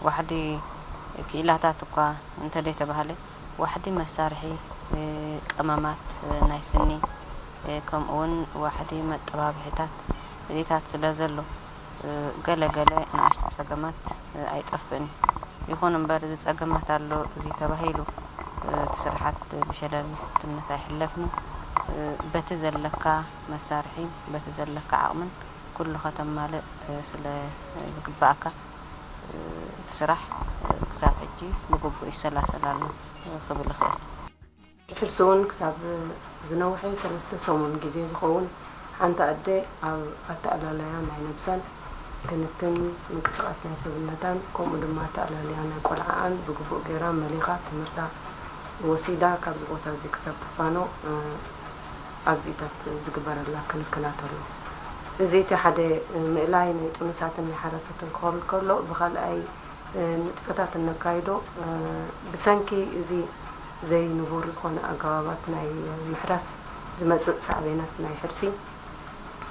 ዋሕዲ ክኢላታት እኳ እንተደይተባህለ፣ ዋሕዲ መሳርሒ፣ እ፣ ቀመማት፣ እ፣ ናይ ስኒ፣ እ፣ ከምኡውን ዋሕዲ መጠባብሒታት እዚታት ስለ ዘሎ፣ እ፣ ገለ ገለ ንኣሽቱ ጸገማት፣ እ፣ ኣይጠፍእን እዩ። ይኹን እምበር፣ እዚ ጸገማት ኣሎ፣ እዚ ተባሂሉ፣ እ፣ እቲ ስርሓት ብሸለልትነት ኣይሕለፍን እዩ። እ፣ በቲ ዘለካ መሳርሒ፣ በቲ ዘለካ ዓቕምን ኩሉ ከተማልእ፣ እ፣ ስለ ዝግባኣካ፣ እ፣ እቲ ስራሕ፣ እ፣ ክሳብ ሕጂ ብግቡእ ይሰላሰል ኣሎ፣ እ፣ ክብል እኽእል። ድሕርሲ እውን ክሳብ ዝነውሐ ሰለስተ ሰሙን ግዜ ዝኸውን ሓንቲ ኣደ ኣብ ኣተኣላላያ ናይ ነብሳን ክንክን ምንቅስቓስ ናይ ሰብነታን ከምኡ ድማ ኣተኣላልያ ናይ ቆልዓኣን ብግቡእ ገይራ መሊኻ ትምህርታ ወሲዳ ካብዚ ቦታ እዚ ክሳብ ትፋኖ፣ እ፣ ኣብዚታት ዝግበረላ ክንክናት ኣሎ። እዚ እቲ ሓደ ምእላይ ናይ ጥኑሳትን ናይ ሓራሳትን ክኸውን ከሎ፣ ብኻልኣይ ንጥፈታት እነካይዶ፣ ብሰንኪ እዚ ዘይንቡር ዝኾነ ኣገባባት ናይ ምሕራስ ዝመጽእ ሳዕቤናት ናይ ሕርሲ፣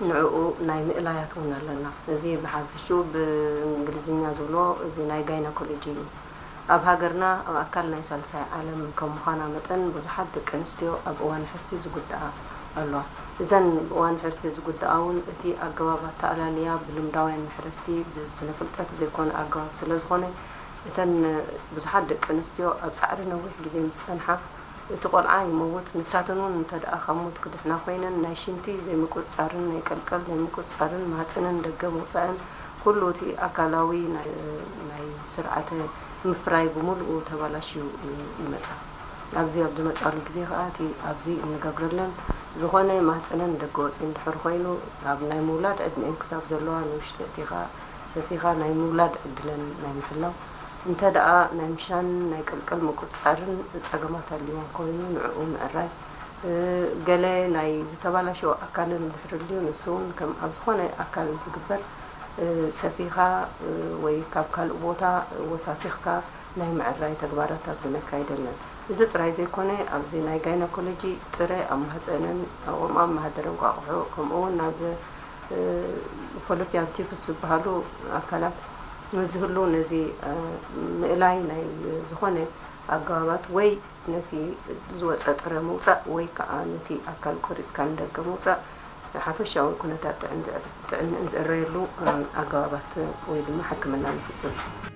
ንዕኡ ናይ ምእላያት እውን ኣለና። እዚ ብሓፈሽኡ ብእንግሊዝኛ ዝብሎ እዚ ናይ ጋይናኮሎጂ እዩ። ኣብ ሃገርና ኣብ ኣካል ናይ ሳልሳይ ዓለም ከም ምዃና መጠን፣ ብዙሓት ደቂ ኣንስትዮ ኣብ እዋን ሕርሲ ዝጉድኣ ኣለዋ። እዘን እዋን ሕርሲ ዝጉድኣ እውን እቲ ኣገባብ ኣተኣላልያ ብልምዳውያን መሕረስቲ ብስነ ፍልጠት ዘይኮነ ኣገባብ ስለ ዝኾነ፣ እተን ብዙሓት ደቂ ኣንስትዮ ኣብ ጻዕሪ ነዊሕ ግዜ ምስ ጸንሓ፣ እቲ ቆልዓ ይመውት፣ ንሳተን እውን እንተ ደኣ ካብ ሞት ክድሕና ኮይነን፣ ናይ ሽንቲ ዘይምቁጽጻርን ናይ ቀልቀል ዘይምቁጽጻርን ማህጸንን ደገ ምውጻእን ኩሉ እቲ ኣካላዊ ናይ፣ ናይ ስርዓተ ምፍራይ ብምሉኡ ተባላሽዩ ይመጻ። ኣብዚ ኣብ ዝመጻሉ ግዜ ከኣ እቲ ኣብዚ እንገብረለን ዝኾነ ማህጸነን ደገ ወጺኡ እንድሕር ኮይኑ፣ ኣብ ናይ ምውላድ ዕድመኤን ክሳብ ዘለዋ ንውሽጢ ኣእቲኻ ሰፊኻ ናይ ምውላድ ዕድለን ናይ ምሕላው፣ እንተ ደኣ ናይ ምሻን ናይ ቅልቅል ምቁጽጻርን ጸገማት ኣልይወን ኮይኑ ንዕኡ ምዕራይ፣ እ፣ ገለ ናይ ዝተባላሸወ ኣካለን እንድሕር ኣልዩ ንሱ እውን ከም ኣብ ዝኾነ ኣካል ዝግበር፣ እ፣ ሰፊኻ፣ እ፣ ወይ ካብ ካልእ ቦታ ወሳሲኽካ ናይ ምዕራይ ተግባራት ኣብዚ ነካይድ ኣለና። እዚ ጥራይ ዘይኮነ፣ ኣብዚ ናይ ጋይናኮሎጂ ጥረ ኣብ ማህጸነን፣ ኣብ ማህደረ እንቋቑሖ፣ ከምኡ እውን ናብ፣ እ፣ ፎሎፒያን ቲዩብስ ዝበሃሉ ኣካላት ምስ ዝህሉ፣ ነዚ፣ እ፣ ምእላይ ናይ ዝኾነ ኣገባባት ወይ ነቲ ዝወጸ ጥረ ምውጻእ ወይ ከኣ ነቲ ኣካል ቆሪጽካ ንደገ ምውጻእ ሓፈሻዊ ኩነታት ጥዕን-፣ ጥዕንእን ዝእረየሉ፣ እ፣ ኣገባባት ወይ ድማ ሕክምና ንፍጽም።